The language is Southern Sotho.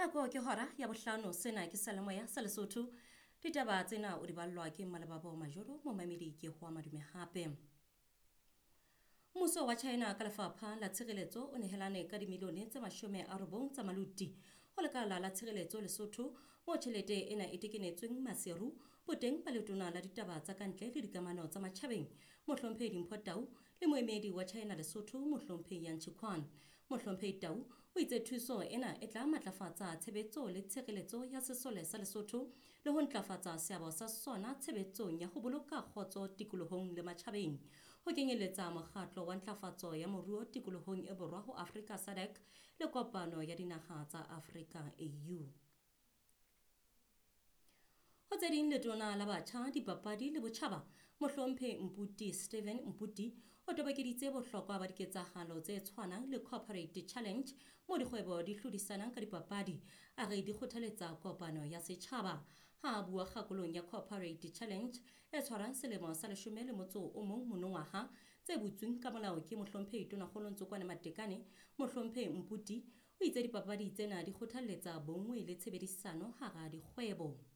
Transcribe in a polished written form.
Nako ke hora ya bohlano, sena ke Seyalemoya sa Lesotho. Ditaba tsena o di ballwa ke Mmalebabo Majoro, momamedi ke Hoa Madume hape. Mmuso wa China ka lefapha la tshireletso o nehelane ka dimilione tse 90 tsa maluti ho lekala la tshireletso Lesotho, moo tjhelete ena e tekenetsweng Maseru boteng ba letona la ditaba tsa kantle le dikamano tsa matjhabeng Mohlomphehi Dimpho Tau le moemedi wa China Lesotho Mohlomphehi Yang Chiquan. Mohlomphehi Tau o itse thuso ena e tla matlafatsa tshebetso le tshireletso ya sesole sa Lesotho le ho ntlafatsa seabo sa sona tshebetsong ya ho boloka kgotso tikolohong le matjhabeng, ho kenyeletsa mokgatlo wa ntlafatso ya moruo tikolohong e borwa ho Afrika SADC le kopano ya dinaha tsa Afrika AU. Ho tse ding, letona la batjha, dipapadi le botjhaba Mohlomphehi Mputi Steven Mputi o tobokeditse bohlokwa ba diketsahalo tse tshwanang le Corporate Challenge moo dikgwebo di hlodisanang ka dipapadi, a re di kgothaletsa kopano ya setjhaba. Ha a bua kgakolong ya Corporate Challenge e tshwarang selemo sa 11 monongwaha tse butsweng ka molao ke Mohlomphehi Tonakgolo Ntsokoane Matekane, Mohlomphehi Mputi o itse dipapadi tsena di kgothalletsa bonngwe le tshebedisano hara dikgwebo.